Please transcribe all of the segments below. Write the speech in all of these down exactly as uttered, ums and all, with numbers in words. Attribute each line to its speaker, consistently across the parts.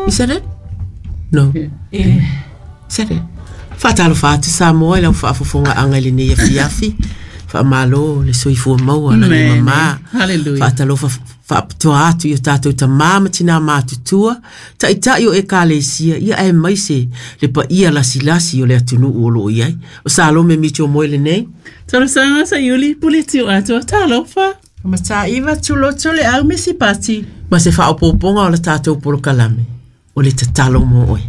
Speaker 1: Is that it? No.
Speaker 2: Yeah.
Speaker 1: Is that it? Faatalofa atu Samoa i lau faafofogaaga i lenei afiafi. Faamalo le soifua maua lagi
Speaker 2: Amen.
Speaker 1: mamā.
Speaker 2: Hallelujah.
Speaker 1: Faatalofa faapitoa atu i o tatou tamā ma tinā matutua, ta'ita'i o ekalesia, ia aemaise le paia lasilasi o le atunuu o loo i ai. O Salome Mitchell Moe lenei.
Speaker 2: Talosaga Saiuli Pule Tiu Atoa Talofa.
Speaker 3: Mataiva Tuloto le au misi pati.
Speaker 1: Ma se faaopoopoga o le tatou polokalame, o le tatalo mo oe.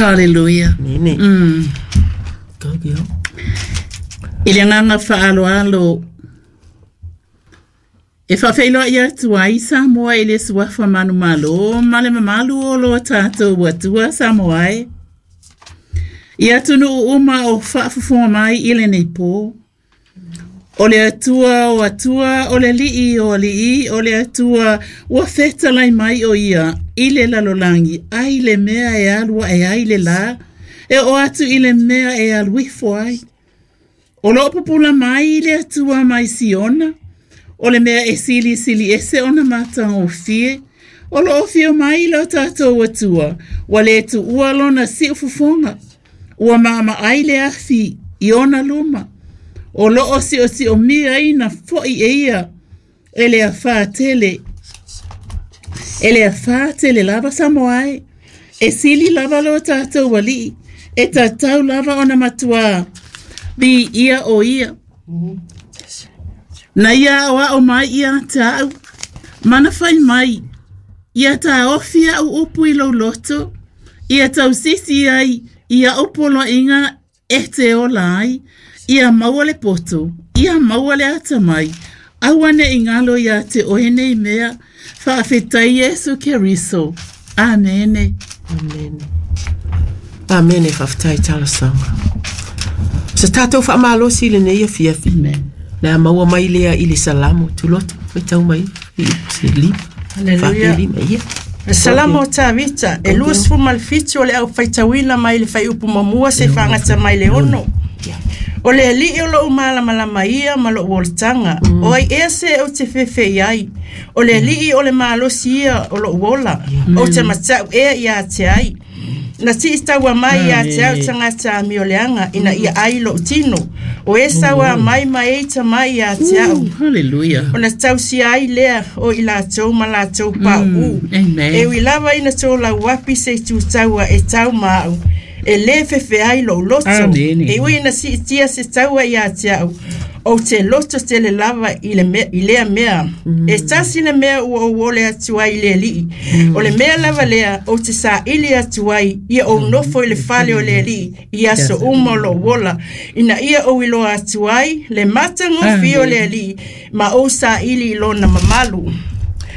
Speaker 2: Hallelujah.
Speaker 1: Nene.
Speaker 2: Mm.
Speaker 1: Go girl.
Speaker 2: I le agaga faaaloalo e faafeiloai atu ai Samoa i le suafa manumalo ma le mamalu o lo tatou Atua Samoa e. I atunuu uma o faafofoga mai i lenei pō. O le Atua o Atua, o le Alii o Alii, o le Atua ua fetalai mai o ia i le lalolagi ai le mea e alu ae ai le lā, e oo atu i le mea e alu ifo ai. O loo pupula mai le Atua mai Siona, o le mea e silisili ese ona matagofie, o loo afio mai lo tatou Atua, ua le tuua lona siufofoga, ua maamaai le afi i ona luma, o loo siosiomia foi e ia, e le afā tele, e le afā tele lava Samoa e, e sili lava lo tatou Alii, e tatau lava ona matuā, viia o ia. Na ia aoao mai ia te au, mana fai mai, ia taofi au upu i lou loto, ia tausisi ai i au poloaiga e te ola ai, ia maua le poto, ia maua le atamai, aua ne i galo ia te oe nei mea, faafetai Iesu Keriso. Amene.
Speaker 1: Amen. Amene, faafetai talosaga. Se tatou faamalosi i lenei afiafi.
Speaker 2: Amen.
Speaker 1: Le a maua mai lea i le Salamo Tuloto. Faitau mai i se lima.
Speaker 3: Hallelujah.
Speaker 1: Faapelima, ia.
Speaker 3: Le Salamo o Tavita, e luasefulu ma le fitu o le au faitauina mai le fuaiupu muamua seia faagata mai le ono. O le Alii o lou malamalama ia ma lou olataga. O ai ea se ou te fefe ai. O le Alii o le malosi ia o lou ola. Ou te matau ea ia te ai. Na siitaua mai ia te au tagata amioleaga ina ia ai lou tino. O e saua mai ma e ita mai ia te au.
Speaker 2: Hallelujah.
Speaker 3: Ona tausia ai lea o i latou ma latou pauu.
Speaker 2: Amen.
Speaker 3: E ui lava ina tolauapi se itutaua e tau ma au. E le fefe ai lou loto.
Speaker 2: Amene.
Speaker 3: E ui ina siitia se taua ia te au. Ou te loto tele lava i, le me, i lea mea. E tasi le mea ua ou ole atu ai i le Alii. O le mea lava lea, ou te saili atu ai, ia ou nofo i le fale o le Alii, i aso uma o lou ola. Ina ia ou iloa atu ai, le matagofie o le Alii, ma ou saili i lona mamalu.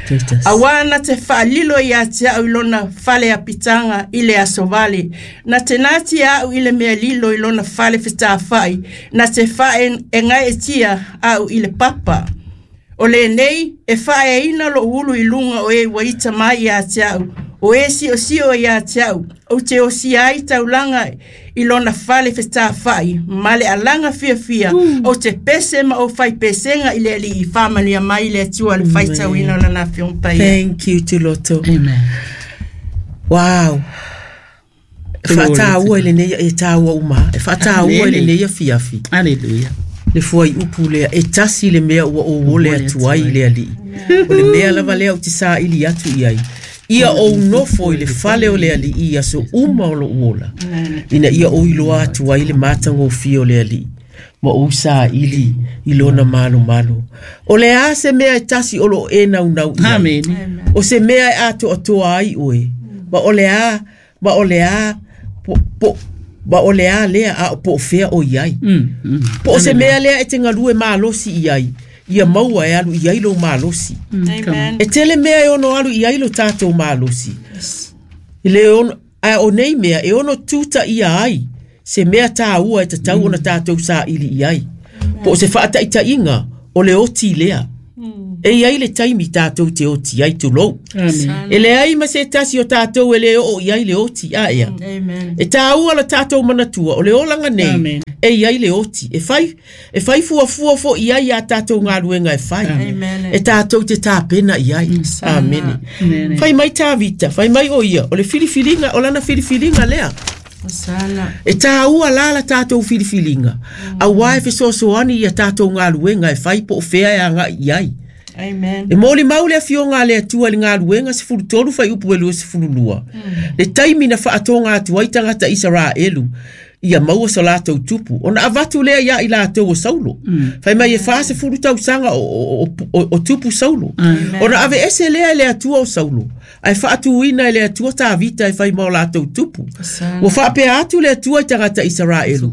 Speaker 1: Jesus.
Speaker 3: Auā na te faalilo ia te au i lona fale apitaga i le aso vale. Na te natia au i le mea lilo i lona fale fetafai. Na te faaegaetia au i le papa. O lenei e faaeaina lou ulu i luga o e ua ita mai ia te au. O e siosio ia te au. Ou te osia ai taulaga i lona fale fetafai. Ma le alaga fiafia. Ou te pese ma ou fai pesega i le Alii. Faamanuia mai le Atua le faitauina o lana Afioga Paia.
Speaker 1: Thank you Tuloto.
Speaker 2: Amen.
Speaker 1: Wow. E faataua i lenei e taua uma. E faataua i
Speaker 2: Amene.
Speaker 1: lenei afiafi.
Speaker 2: Hallelujah.
Speaker 1: Le fuaiupu lea e tasi le mea ua ou ole atu ai i le Alii. O le mea lava lea ou te saili atu i ai. Ia ou nofo i le fale o le Alii i aso uma o lou ola. Ina ia ou iloa atu ai le matagofie o le Alii. Ma ou saili i lona malomalo. O le a se mea e tasi o loo e naunau i ai.
Speaker 2: Amene.
Speaker 1: O se mea e atoatoa ai oe. Ma o le a, ma o le a, po, po, ma o le a lea a o po o fea o i ai.
Speaker 2: Mm, mm.
Speaker 1: Po o se mea lea e te galue malosi i ai. Ia maua e alu i ai lou malosi.
Speaker 3: Amen.
Speaker 1: E tele mea e ono alu i ai lo tatou malosi. I le ono, a o nei mea e ono tuta ia ai. Se mea tāua e tatau ona tatou saili i ai. Po o se faataitaiga o le oti lea. E iai le taimi tātou te oti ai tulou.
Speaker 2: Amen.
Speaker 1: E le ai ma se tasi o tātou e le o i ai le oti a ea.
Speaker 3: Amen.
Speaker 1: E tāua la tātou manatua o le olanga nei
Speaker 2: Amen.
Speaker 1: e iai le oti. E whai, e whai fua fua fo i ai a tātou ngā ruenga e whai.
Speaker 3: Amen.
Speaker 1: E tātou te tāpena i ai. Amen.
Speaker 2: Amen.
Speaker 1: Whai mai Tāvita, whai mai o ia, o le filifilinga, o lana filifilinga lea.
Speaker 3: Sana.
Speaker 1: E tāua la la tātou filifilinga. Mm. A wai fesoasoani ia tātou ngā ruenga e whai po o whea e anga i ai.
Speaker 3: Amen.
Speaker 1: E mōli mau le afioga a le Atua i le galuega sefulu tolu fuaiupu e lua sefulu lua. Le taimi na faatoga atu ai tagata Isaraelu ia maua so latou tupu. Ona avatu lea ia i latou o Saulo. Fai mai e fasefulu tausaga o, o, o, o, o tupu Saulo. Ona ave ese lea e le Atua o Saulo. Ae faatuina e le Atua Tavita e fai ma o latou tupu.
Speaker 3: Sana.
Speaker 1: Ua faapea atu le Atua i tagata Isaraelu.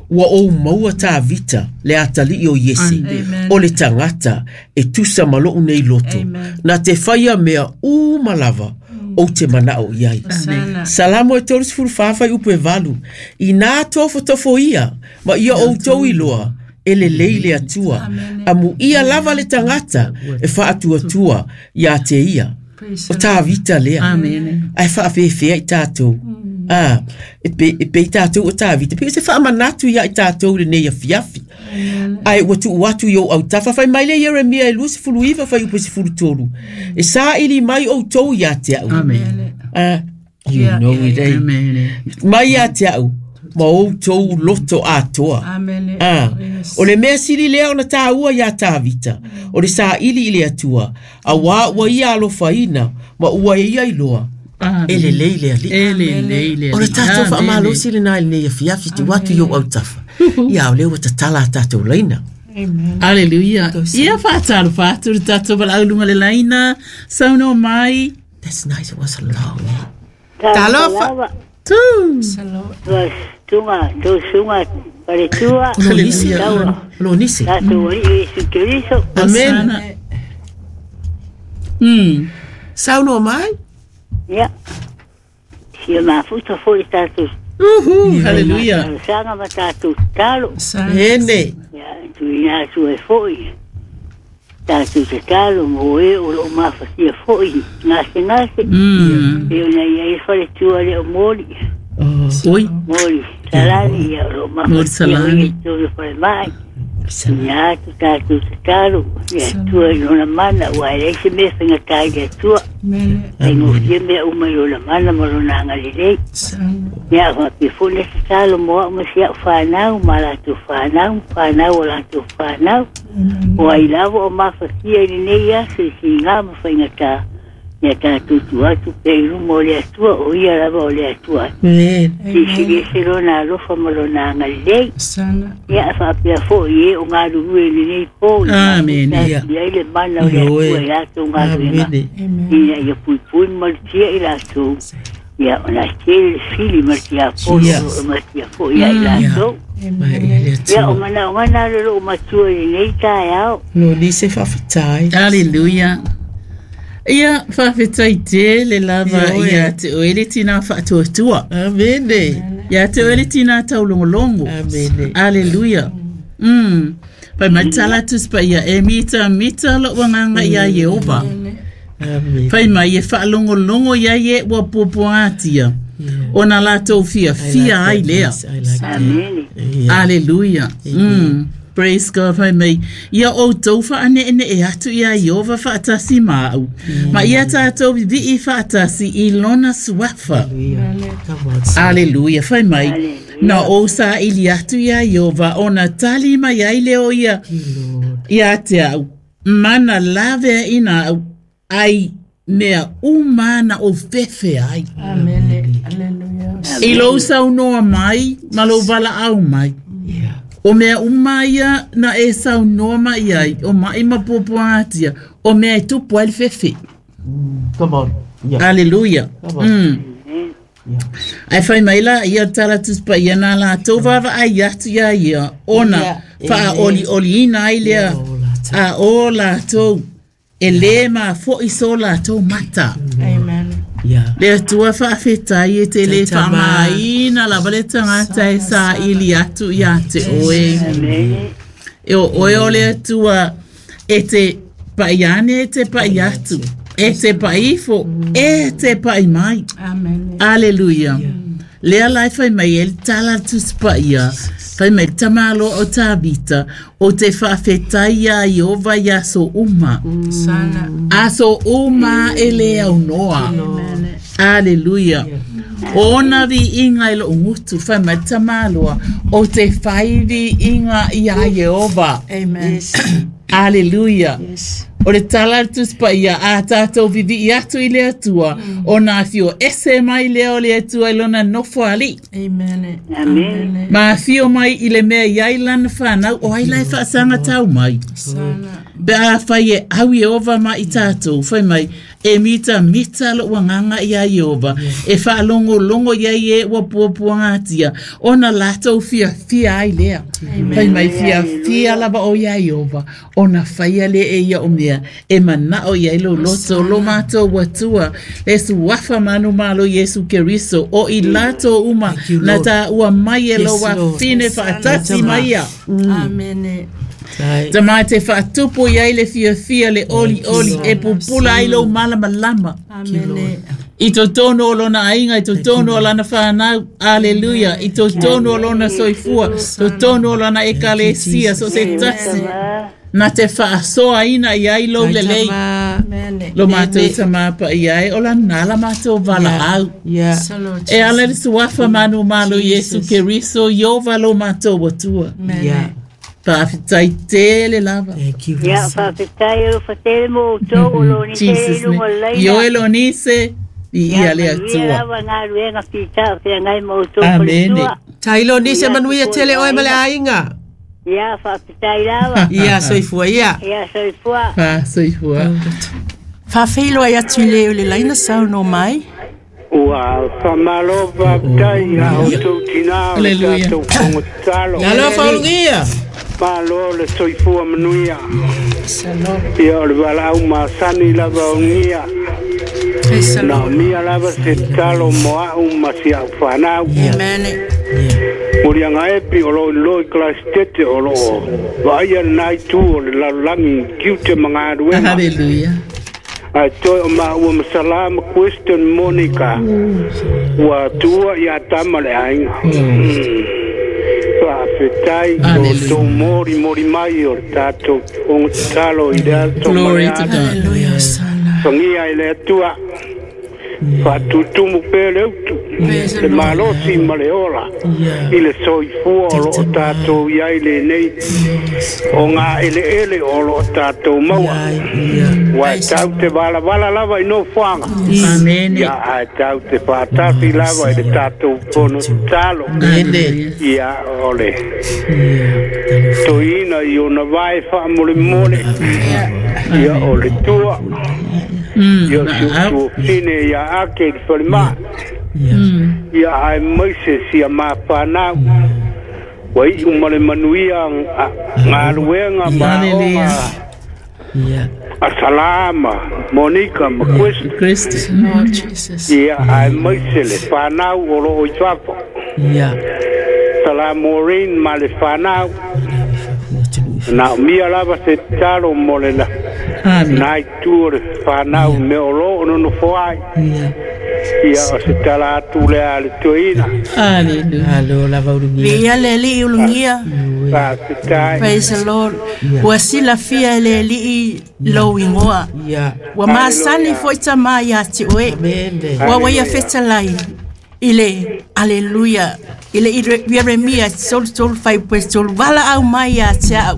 Speaker 1: Ua ou maua Tavita le atalii o Iese.
Speaker 3: Amen.
Speaker 1: O le tagata e tusa ma lou nei loto.
Speaker 3: Amen.
Speaker 1: Na te whaia mea uma lava o te manao i ai.
Speaker 3: Sana.
Speaker 1: Salamo e tolu sefulu fa fuaiupu e valu. I nā tofotofo ia, ma ia outou iloa, e lelei le Atua. Amu ia lava le tagata e faatuatua ia te ia.
Speaker 3: Praise
Speaker 1: O Tavita lea.
Speaker 2: Amen.
Speaker 1: Ai whaafefea i tātou. Ah, e pe, e pe i tātou o Tavita. Pe se whaamanatu ia i tātou le nei afiafi. Ai, ua tuu atu i o au tafa. Whai mai le Jeremia e lua sefulu iva fuaiupu sefulu tolu. E saili mai outou ia te au.
Speaker 2: Amen.
Speaker 1: Ah, you
Speaker 3: Yeah,
Speaker 1: know
Speaker 3: yeah,
Speaker 1: it, eh?
Speaker 2: Amen.
Speaker 1: Mai ia te au, ma outou loto atoa.
Speaker 3: Amen.
Speaker 1: Ah,
Speaker 3: Yes.
Speaker 1: o le mea sili lea ona tāua ia Tavita, o le saili i le Atua, a wā ua ia alofaina, ma ua ia iloa,
Speaker 2: Amen.
Speaker 1: e lelei le alii.
Speaker 2: E lelei le
Speaker 1: O le
Speaker 2: alii.
Speaker 1: tātou
Speaker 2: Amen.
Speaker 1: whaamalosi le nai nei afiafi te watu i o au tafa. Ia o lea ua tatala a tātou leina.
Speaker 3: Amen.
Speaker 2: Hallelujah. Ia whātaro whāturu le tātou walaulunga le laina. Sauno mai.
Speaker 1: That's nice, it was a long.
Speaker 4: Talofa.
Speaker 2: Tū.
Speaker 3: Salo.
Speaker 4: Tua tunga, tu sunga, paletua.
Speaker 1: O lo nisi.
Speaker 4: Taua.
Speaker 1: O lo nisi.
Speaker 4: Tātou ori Yesu Keriso.
Speaker 1: Amen.
Speaker 2: Sana. Mm.
Speaker 1: Sauno mai.
Speaker 4: Ia. Sia mafuta foi tātou.
Speaker 2: Uhu. Hallelujah.
Speaker 4: Sanga ma tātou talo.
Speaker 3: Sana.
Speaker 1: Ene.
Speaker 4: Ia, tu ina atu e foi. Tātou te talo mo e o lo mafatia foi. Ngase ngase.
Speaker 2: Mm.
Speaker 4: E ona ia e whare tua le o mori.
Speaker 1: Oh,
Speaker 2: Oi.
Speaker 4: Mori. Salani ia o lo
Speaker 2: Mori
Speaker 4: mafatia
Speaker 2: Salani.
Speaker 4: i tō whare mai.
Speaker 1: sana.
Speaker 4: Ia atu tātou te talo. Ia tua i lona mana. Ua e leise mea whainga tai le tua.
Speaker 3: Amen.
Speaker 4: Ai ngofia mea uma i lona mana ma lona angalelei.
Speaker 3: Sana.
Speaker 4: Ia wha pe fone se talo mo au ma si au whanau, ma latou whanau, whanau o latou whanau. O ai lava o mafatia i lenei aso i siga ma faigata. Ia tātou tu atu pe i luma o le Atua, o ia lava o le Atua.
Speaker 1: Amen.
Speaker 4: Silisili ese lona alofa ma lona agalelei.
Speaker 3: Sana.
Speaker 4: Ia faapea foʻi e o galulue i lenei po i
Speaker 2: Amen.
Speaker 1: Ia.
Speaker 4: ai le mana o le
Speaker 1: Ioe.
Speaker 4: Atua i latou galuega.
Speaker 1: Amen.
Speaker 3: Amen.
Speaker 4: Ina ia puipui ma malutia i latou. Ia ona tele le fili ma le tiafono
Speaker 1: Ia.
Speaker 4: o ma le tiafoʻi ia i latou.
Speaker 1: Mai i le
Speaker 4: Ia o
Speaker 1: Atua.
Speaker 4: manaʻoga na le loo matua i lenei taeao.
Speaker 1: Lo nisi whawhitai.
Speaker 2: Hallelujah. Ia whawhetai te le lava
Speaker 1: Ioe.
Speaker 2: ia te oele tina whaatuatua.
Speaker 1: Amen.
Speaker 2: Ia te oele tina taulongolongo.
Speaker 1: Amen.
Speaker 2: Hallelujah. Mm. Pai mai tala tuspa ia e mita mita lo wanganga ia Yehova.
Speaker 1: Amen.
Speaker 2: Pai mai e whaalongolongo ia ye ua popoatia. Ona latou fia fia ai lea.
Speaker 1: I like that.
Speaker 4: Amene.
Speaker 1: Yeah.
Speaker 2: Hallelujah. Mm. Praise God, pai mai. Ia outou whaane e atu ia Yehova whaatasi mau. Ma ia tātou vivi whaatasi i lona suafa.
Speaker 1: Hallelujah. Come on, son.
Speaker 2: Hallelujah, whai mai.
Speaker 4: Hallelujah.
Speaker 2: Na o sa ili atu ia Yehova, ona tali mai ai leo ia,
Speaker 1: Lord.
Speaker 2: ia te au. Mana lave ina au, ai mea umana o fefe ai.
Speaker 3: Amen. Hallelujah.
Speaker 2: I lou saunoa mai, ma lou vala au mai.
Speaker 1: Yeah.
Speaker 2: O mea uma ia na e saunoa mai ai, o mai ma popoatia, o mea e tupu ai le fefe.
Speaker 1: Come on. Yeah.
Speaker 2: Hallelujah.
Speaker 1: Come on.
Speaker 2: Mm.
Speaker 1: Yeah.
Speaker 2: Ai whai mai la, ia tala tuspa ia nā lātou wawa ai atu ia ia, ona
Speaker 1: Ia,
Speaker 2: wha oli oli ina ai lea,
Speaker 1: Ia, o lātou.
Speaker 2: a o lātou, e le ma fo i so lātou mata.
Speaker 3: Amen.
Speaker 1: Yeah.
Speaker 2: Le atua whaawhetai e te le
Speaker 1: Taitama.
Speaker 2: whaamaina lava le tangata e sa ili atu ia te oe.
Speaker 4: Amene.
Speaker 2: E o oe o le atua e te Paʻi ane e te paʻi atu. E te paʻi ifo. E te paʻi mai.
Speaker 3: Amen.
Speaker 2: Aleluia. Lea lai fai mai e le tala tusipaia. Fai mai tamalo o Tavita. O te whaafetai ia Iova i aso uma.
Speaker 3: Sana.
Speaker 2: Aso uma e le au noa. Aleluia. Ona vi inga i lo ngutu fai mai tamaloa. O te whairi inga i a Iova.
Speaker 3: Amen.
Speaker 1: Yes.
Speaker 2: Aleluia.
Speaker 1: Yes.
Speaker 2: O le tala tusipaia a tātou vivi i atu i le atua. O nā fio ese mai leo le atua i lona nofo ali.
Speaker 3: Amen.
Speaker 4: Amen.
Speaker 2: Ma fio mai i le mea i ai lana whanau o ai lai whaasanga tau mai.
Speaker 3: Sana.
Speaker 2: Pe a whai e au Iova ma i tātou, whai mai, e mita mita lo wanganga i a Iova, e whaalongo longo ia i e ua puapua ngatia, ona lātou fia fia ai lea. Whai mai fia fia lava o ia Iova, ona whaia le e ia o mea, e manao ia i lo loto, lo mātou watua, le suafa manu malo Yesu Keriso, o i lātou uma,
Speaker 1: Thank you,
Speaker 2: na
Speaker 1: Lord.
Speaker 2: tā ua mai e lo
Speaker 1: Yes, Lord.
Speaker 2: wafine whaatasi mai ia.
Speaker 3: Amen.
Speaker 1: Tai.
Speaker 2: Ta mai te whaatupu i ai le fia fia le oli oli e pupula ai lo malama lama.
Speaker 3: Amen.
Speaker 2: I tō o lona ainga, i tō o lana whanau, aleluia. I tō o lona soifua, tō o lona ekalesia, so se tasi. Nā te whaasoa ina i ai lo lelei.
Speaker 3: Amen.
Speaker 2: Lo mātou tamapa i ai, o la nala mātou wala au.
Speaker 1: Yeah.
Speaker 3: Salo.
Speaker 2: E ala le suafa manu malo Yesu Keriso, Iova lo mātou watua.
Speaker 3: Amen.
Speaker 1: Yeah.
Speaker 2: Whaafetai tele lava.
Speaker 1: Thank you.
Speaker 4: Ia, whaafetai o fatele mo tō o lo ni te
Speaker 2: Jesus
Speaker 4: lunga
Speaker 2: name.
Speaker 4: leina.
Speaker 2: Io e lo nise i ia le
Speaker 4: Ia
Speaker 2: atua.
Speaker 4: lava ngā ruenga pita o te ngai mo tō
Speaker 2: Amen.
Speaker 1: Tailo nise manuia tele oe ma le ainga.
Speaker 4: Ia, whaafetai lava.
Speaker 1: Ia soifua ia.
Speaker 4: Ia, soifua.
Speaker 2: Wha soifua.
Speaker 3: Whawheilo ai atu i le o le laina sau no mai.
Speaker 5: Ua whamalo waptai a o tau tina o le
Speaker 2: Hallelujah.
Speaker 5: tātou kongo talo.
Speaker 1: Nalo faulungia.
Speaker 5: Malo le soifua manuia. Ia o le walau masani lava o ngia.
Speaker 3: Praise the
Speaker 5: Na
Speaker 3: Lord.
Speaker 5: mia lava se talo moa au ma si au whanau.
Speaker 3: Amen.
Speaker 5: Muri anga epi o lo loi klastete o lo vaia nai tu o le lalangi kiute mangaruenga.
Speaker 2: Hallelujah.
Speaker 5: Ai toi o maua masala question Monica. Ua tua ia tama le ainga. Whaafetai o
Speaker 2: Hallelujah.
Speaker 5: tō mori mori mai o le tātou o talo i le ato
Speaker 2: Glory
Speaker 5: mare
Speaker 2: to
Speaker 5: atu.
Speaker 2: God.
Speaker 3: Hallelujah. Sana.
Speaker 5: Whangia i le atua. Whatutumu pē le utu.
Speaker 3: Praise the
Speaker 5: Le
Speaker 3: Lord.
Speaker 5: malosi ma le ola.
Speaker 1: Yeah.
Speaker 5: I le soifua o lo o tātou i ai le nei. O ngā ele ele o lo o tātou maua.
Speaker 1: Yeah.
Speaker 5: Wa e tau te wala wala lava i no whanga.
Speaker 2: Amen.
Speaker 5: Ia ai tau te whātasi lava i le tātou pono talo.
Speaker 1: Nene.
Speaker 5: Ia ole.
Speaker 1: Yeah.
Speaker 5: Toina i ona vai whaamole mole. Ia o le tua.
Speaker 2: Mm,
Speaker 5: Ia
Speaker 2: na
Speaker 5: si
Speaker 2: au.
Speaker 5: tua fine ia ake i le whalima.
Speaker 1: Yeah.
Speaker 5: Ia ai maise si a mā whanau. Wa i umale manuia ngā ruenga ma
Speaker 2: Hallelujah.
Speaker 5: onga
Speaker 1: Yeah.
Speaker 5: a Salama, Monica, ma Quest.
Speaker 2: Christ.
Speaker 3: Lord Jesus.
Speaker 5: Ia ai maise le whanau o lo o i fafo.
Speaker 1: Yeah.
Speaker 5: Salam Maureen ma le whanau. Na mia lava se talo mo le la.
Speaker 2: Amen.
Speaker 5: Nai tu o le whanau me o lo ono no foai.
Speaker 1: Yeah.
Speaker 5: Ia o se tala atu le a le tuina.
Speaker 2: Hallelujah.
Speaker 1: Alo lava ulungia.
Speaker 3: Via le li ulungia.
Speaker 5: Fa se tai.
Speaker 3: Praise the Lord. Ua sila fia le li lo ingoa.
Speaker 1: Yeah.
Speaker 3: Ua masani foi tama ia te oe.
Speaker 1: Amen.
Speaker 3: Ua waia fetalai i le aleluia i le Ieremia tolu tolu fai pue tolu wala au mai ia te au.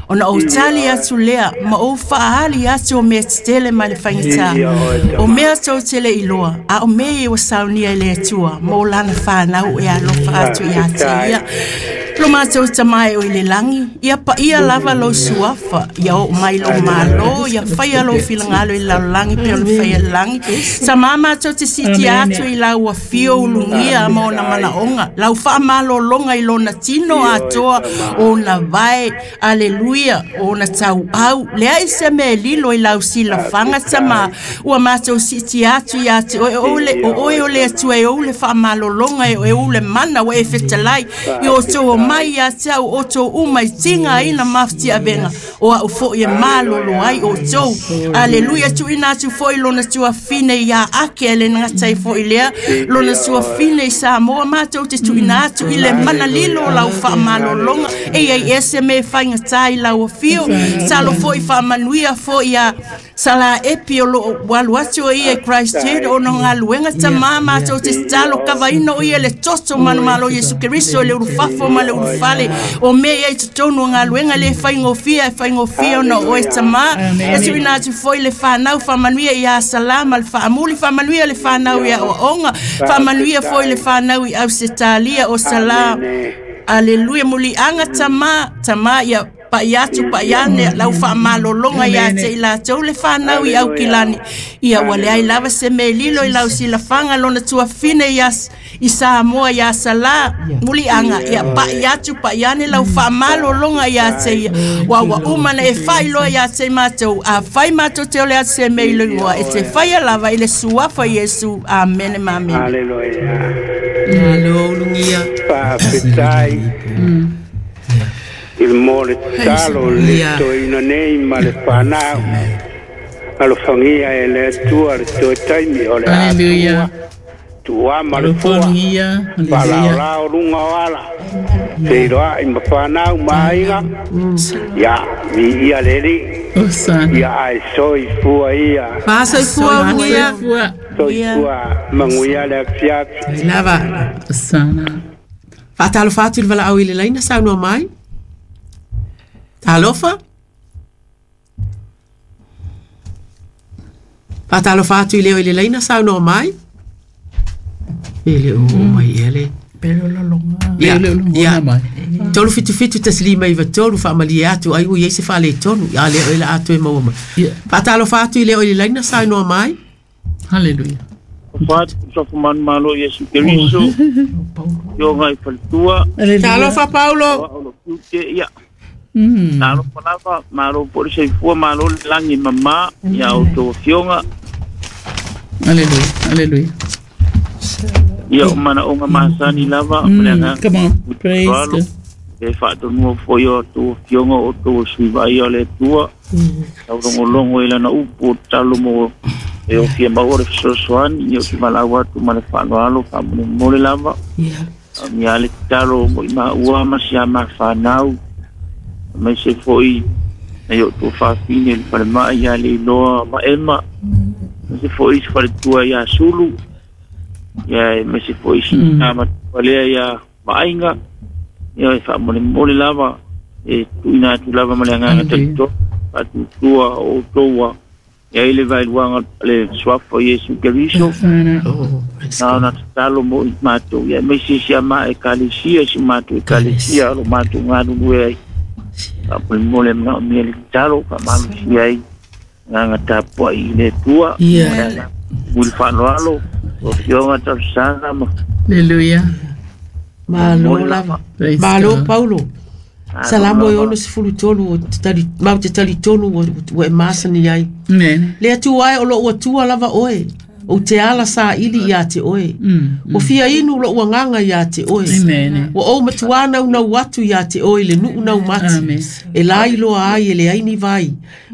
Speaker 3: Ona o tali atu lea ma o whaahali atu o mea tetele mai le whaingata. O mea tau tele i loa, a o mea i o saunia i le atua, ma o lana whanau e alofa atu i a te ia. Lo mātou tamai o i le langi, ia pa ia lava lo suafa, ia o mai lo malo, ia whaia lo filangalo i lau langi, pe o le whaia langi. Sa mā mātou te siti atu i lau a whio ulungia ma ona manaonga, lau whaamalo longa i lona tino atoa, o na vai, aleluia, o na tau au, lea i se me lilo i lau sila whanga tama, ua mātou siti atu i atu, o o le o oe o le atua e o le whaamalo longa e o le mana o e fetalai, i o tō mai ia te au o tō uma i tinga ina mafti avenga o au fo i malolo ai o tō. Aleluia tu ina atu fo i lona tua fine ia ake le ngatai fo i lea lona tua fine i Samoa mātou te tu ina atu i le mana lilo lau wha malolonga e ai ese me whainga tai lau fio salo fo i wha manuia fo ia sala epi o lo walu atu o ia Christ o no ngaluenga tamā mātou te talo kavaina o ia le toto manumalo Yesu Kristo le urufafo ma le urufale o me ia i totonu o ngaluenga le whaingofia e whaingofia ona o e tamā e tuina atu foi le whanau whamanuia ia salama le whaamuli whamanuia le whanau ia oaonga whamanuia foi le whanau i Ausetalia o salam. Aleluia mulianga tamā tamā ia pa iatu pa iane lau wha malolonga ia te ila tau le whanau i au kilani ia wale ai lava se me lilo i lau sila whanga lona tua fine ia i Samoa ia sala mulianga ia pa iatu pa iane lau wha malolonga ia te ia wa wa umana e whailoa ia te mātou a whai mātou te ole atu se me ilo ingoa e te whaia lava i le suafa Yesu. Amen ma amen.
Speaker 5: Hallelujah.
Speaker 1: Alo lungia
Speaker 5: Whawhetai il mole talo le toina nei ma le whanau alofangia e le atua le toe taimi o le
Speaker 2: Hallelujah.
Speaker 5: Tua ma le fua Whalaolao lunga o ala Te iroa i ma whanau ma aiga Ia, mi ia leli Ia ai soi fua ia
Speaker 1: Whasoi fua ungia
Speaker 5: Soi fua manguia le afiafi
Speaker 1: Lava
Speaker 2: Sana
Speaker 1: Whaatalo whaatu le wala au i le laina saunua mai Talofa. Whaatalofa atu i leo i le laina saunoa mai. E le o mai ele.
Speaker 3: Pele o lolonga.
Speaker 1: Ia, ia. Tolu fitu fitu taslima i tolu whaamalie atu ai ui eise whale tonu. Ia leo ila atu e maua mai. Whaatalofa atu i leo i le laina saunoa mai.
Speaker 2: Hallelujah.
Speaker 6: Whaatu sofumanu malo Yesu Keriso. Yo ngai whalitua.
Speaker 1: Talofa Paulo.
Speaker 6: Ia. Nalo palava, malo por se fua, malo langi mama, ia o tō fionga.
Speaker 2: Hallelujah, hallelujah.
Speaker 6: Ia o mana onga masani lava.
Speaker 2: Mm, come on, praise God.
Speaker 6: E whaatonua foi o tō fionga o tō suivai o le tua. Tau rongo longo i lana upu o talo mo e o fia maua le fesoasoani, ia o te malau atu ma le whaanoalo, whaamone mole lava. Ia le talo mo i maua ma si a ma whanau. Mai se foi na o tō whawhine le whare maa ia le iloa ma ema. Mai se foi se whare tua ia Sulu. Ia mai se foi se ngā matua lea ia maainga. Ia e whaamone mole lava. E tuina atu lava ma le anganga talito. Whatutua o tōa. Ia ile vailuanga le swafa Yesu Keriso. Nā na tatalo mo i mātou. Ia mai se si ama e kalesia si mātou e kalesia alo mātou ngā ai. Ka mole mna o mia le talo ka malu si ai ngā tapua i le tua.
Speaker 1: Ia.
Speaker 6: Muli whanoalo o fionga tausanga ma.
Speaker 2: Hallelujah.
Speaker 1: Malo lava. Malo Paulo. Salamo e ono sefulu tolu o te tali, mau te tali tonu o e masani ai.
Speaker 2: Amen.
Speaker 1: Le atu ai o lo ua tua lava oe. O te ala sa ili ia te oe.
Speaker 2: Mm,
Speaker 1: O fia inu lo ua nganga ia te oe.
Speaker 2: Amen.
Speaker 1: O o matuana una watu ia te oe le nuu nau mati.
Speaker 2: Amen.
Speaker 1: E lai loa ai e le aini vai.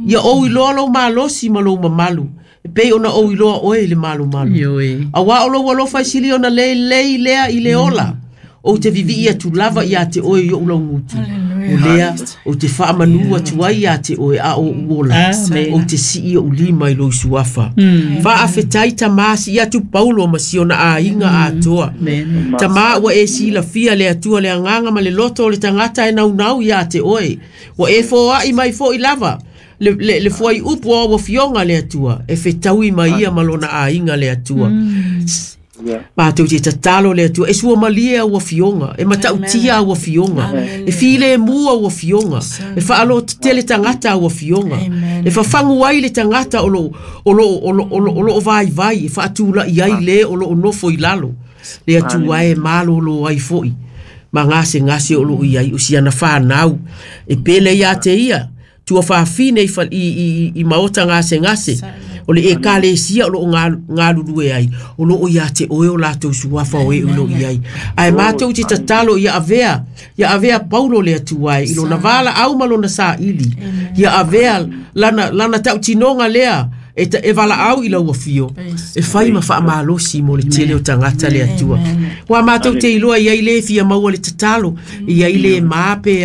Speaker 1: Ia o i loa lo malosi ma lo mamalu. E pei ona o i loa oe le malu malu.
Speaker 2: Ioe.
Speaker 1: A wa o lo walofa i sili ona le lei lea i le ola. O te vivi ia tu lava ia te oe i o ulau ngutu. O lea, o te whaamanu atu ai ia te oe a o uola.
Speaker 2: Amen.
Speaker 1: O te sii o ulima i lo isuafa.
Speaker 2: Mm.
Speaker 1: Whaafetai tamasi ia tu Paulo ma siona a inga a toa.
Speaker 2: Amen.
Speaker 1: Tama ua e sila fia le atua le anganga ma le loto o le tangata e naunau ia te oe. Ua e fōa i mai fo i lava. Le, le, le fuai upu o ua fionga le atua. E whetaui mai ia malona a inga le atua.
Speaker 2: Mm.
Speaker 6: Yeah.
Speaker 1: Mātou te tatalo le atua, e sua malie au fionga, e matautia au fionga, e file e mua au fionga, e whaalo tele tangata au fionga, e whafangu ai le tangata o lo, o lo, o lo, o lo, o lo vai vai, e whaatula i ai le o lo o nofo i lalo, le atua e malo lo ai foi, ma ngase ngase o lo i ai, o siana whanau, e pele ia te ia, tua whawhine i, i, i, i maota ngase ngase, O le ekalesia o loo galulue ai o loo ia te oe o latou suafa o e o loo i ai. Ae matou te tatalo ia avea ia avea Paulo le Atua e i lona valaau ma lona saili. Ia avea lana lana tautinoga lea e, ta, e valaau i lau afio e fai ma faamalosi mo le tele o tagata le Atua. Ua matou te iloa i ai le fia maua le tatalo i ai le ma pe